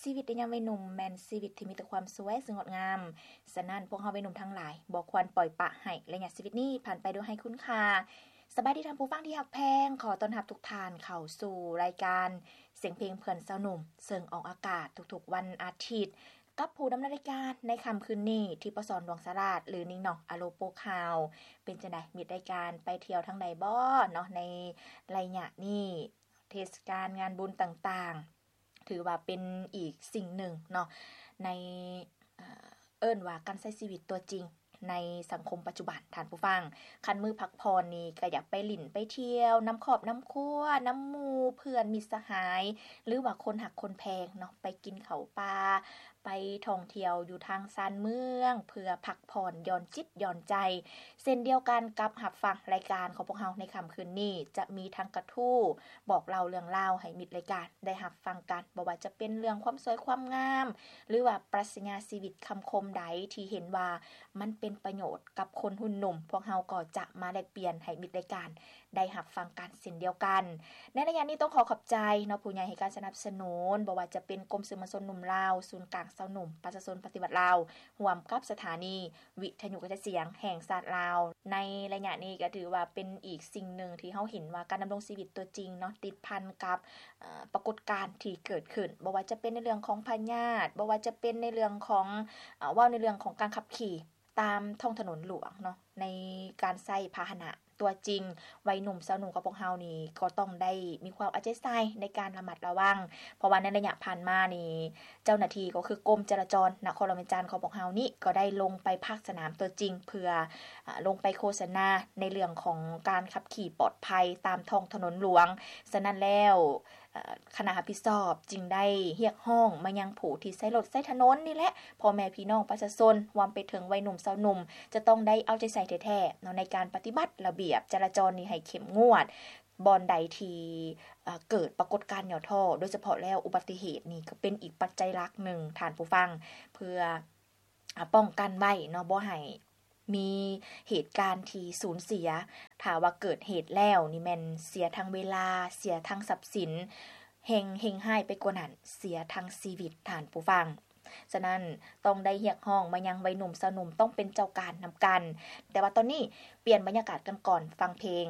ຊີວິດໃນຍາມວັຍໜຸ່ມແມ່ນຊີວິດທີ່ມີແຕ່ຄວາມສວຍ ຊຶ່ງງົດງາມ. ສະນັ້ນ, ພວກເຮົາວັຍໜຸ່ມທັງຫຼາຍບໍ່ຄວນປ່ອຍປະໃຫ້ໄລຍະຊີວິດນີ້ຜ່ານໄປໂດຍໄຮ້ຄຸນຄ່າ. ສະບາຍດີທ່ານຜູ້ຟັງທີ່ຮັກແພງ, ຂໍຕ້ອນຮັບທຸກທ່ານເຂົ້າສູ່ລາຍການສຽງເພງເພື່ອນຊາວໜຸ່ມ, ເຊິ່ງອອກອາກາດທຸກໆວັນອາທິດ, ກັບຜູ້ດຳເນີນລາຍການໃນຄ່ຳຄືນນີ້ ທິບປະສອນ ດວງສາລາດ ຫຼື ນິ້ງໜອງ ອາໂລໂປຂ່າວ. ເປັນຈັ່ງໃດ ມິດລາຍການໄປທ່ຽວທາງໃດບໍ່ເນາະ ໃນໄລຍະນີ້? ເທດສະການງານບຸນຕ່າງໆ ຖືວ່າເປັນອີກສິ່ງໜຶ່ງເນາະ ໃນ ເອີ້ນວ່າການໃຊ້ຊີວິດຕົວຈິງໃນສັງຄົມປັດຈຸບັນ. ທ່ານຜູ້ຟັງ, ຄັນມື້ພັກຜ່ອນນີ້ກໍຢາກໄປຫຼິ້ນໄປທ່ຽວນຳຄອບນຳຄົວ, ນຳໝູ່ເພື່ອນມິດສະຫາຍ ຫຼືວ່າຄົນຮັກຄົນແພງເນາະ, ໄປກິນເຂົ້າປ່າ, ໄປທ່ອງທ່ຽວຢູ່ທາງຊານເມືອງ ເພື່ອພັກຜ່ອນຢ່ອນຈິດຢ່ອນໃຈ. ເຊັ່ນດຽວກັນກັບຮັບຟັງລາຍການຂອງພວກເຮົາໃນຄ່ຳຄືນນີ້, ຈະມີທັງກະທູ້ບອກເລົ່າເລື່ອງລາວໃຫ້ມິດລາຍການໄດ້ຮັບຟັງກັນ, ບໍ່ວ່າຈະເປັນເລື່ອງຄວາມສວຍຄວາມງາມ ຫຼືວ່າປລັດຊະຍາຊີວິດຄຳຄົມໃດທີ່ເຫັນວ່າມັນເປັນປະໂຫຍດກັບຄົນຮຸ່ນໜຸ່ມ, ພວກເຮົາກໍຈະມາແລກປ່ຽນໃຫ້ມິດລາຍການໄດ້ຮັບຟັງກັນເຊັ່ນດຽວກັນ. ໃນໄລຍະນີ້ຕ້ອງຂໍຂອບໃຈເນາະ ຜູ້ໃຫຍ່ໃຫ້ການສະໜັບສະໜູນ, ບໍ່ວ່າຈະເປັນກົມສື່ມວນຊົນໜຸ່ມລາວ, ສູນກາງຊາວໜຸ່ມປະຊາຊົນປະຕິວັດລາວ, ຮ່ວມກັບສະຖານີ ວິທະຍຸກະຈາຍສຽງແຫ່ງຊາດລາວ. ໃນໄລຍະນີ້ກໍຖືວ່າເປັນອີກສິ່ງໜຶ່ງທີ່ເຮົາເຫັນວ່າການດຳລົງຊີວິດຕົວຈິງເນາະ ຕິດພັນກັບ ເອີ ປາກົດການທີ່ເກີດຂຶ້ນ, ບໍ່ວ່າຈະເປັນໃນເລື່ອງຂອງພະຍາດ, ບໍ່ວ່າຈະເປັນໃນເລື່ອງຂອງ ເອີ ເວົ້າໃນເລື່ອງຂອງການຂັບຂີ່ຕາມທ້ອງຖະໜົນຫຼວງເນາະ, ໃນການໃຊ້ພາຫະນະ ຕົວຈິງ ວັຍໜຸ່ມຊາວໜຸ່ມຂອງພວກເຮົານີ້ກໍຕ້ອງໄດ້ມີຄວາມເອົາໃຈໃສ່ໃນການລະມັດລະວັງ, ເພາະວ່າໃນໄລຍະຜ່ານມານີ້ ເຈົ້າໜ້າທີ່ກໍຄືກົມຈະລາຈອນນະຄອນຫຼວງວຽງຈັນຂອງພວກເຮົານີ້ ກໍໄດ້ລົງໄປພາກສະໜາມຕົວຈິງ ເພື່ອ ອາ ລົງໄປໂຄສະນາໃນເລື່ອງຂອງການຂັບຂີ່ປອດໄພຕາມທ້ອງຖະໜົນຫຼວງ. ສະນັ້ນແລ້ວ ເອີ ຄະນະຮັບຜິດຊອບຈຶ່ງໄດ້ຮຽກຮ້ອງມາຍັງຜູ້ທີ່ໃຊ້ລົດໃຊ້ຖະໜົນນີ້ແຫຼະ, ພໍ່ແມ່ພີ່ນ້ອງປະຊາຊົນ ຮວມໄປເຖິງໄວໜຸ່ມຊາວໜຸ່ມ ຈະຕ້ອງໄດ້ເອົາໃຈໃສ່ແທ້ໆເນາະ ໃນການປະຕິບັດລະບຽບຈະລາຈອນນີ້ໃຫ້ເຂັ້ມງວດ. ບ່ອນໃດທີ່ ເອີ ເກີດປາກົດການຫຍໍ້ທໍ້ ໂດຍສະເພາະແລ້ວອຸບັດຕິເຫດນີ້ ກໍເປັນອີກປັດໄຈຫຼັກໜຶ່ງ ທ່ານຜູ້ຟັງ, ເພື່ອ ອາ ປ້ອງກັນໄວ້ເນາະ ບໍ່ໃຫ້ ມີເຫດການທີ່ສູນເສຍ. ຖ້າວ່າເກີດເຫດແລ້ວນີ້ແມ່ນເສຍທັງເວລາ, ເສຍທັງຊັບສິນ, ແຮ່ງເຮັງຮ້າຍໄປກວ່ານັ້ນ ເສຍທັງຊີວິດ, ທ່ານຜູ້ຟັງ. ສະນັ້ນ, ຕ້ອງໄດ້ຮຽກຮ້ອງມາຍັງໄວໜຸ່ມຊາວໜຸ່ມ ຕ້ອງເປັນເຈົ້າການນຳກັນ. ແຕ່ວ່າຕອນນີ້ ປ່ຽນບັນຍາກາດກັນກ່ອນ, ຟັງເພງ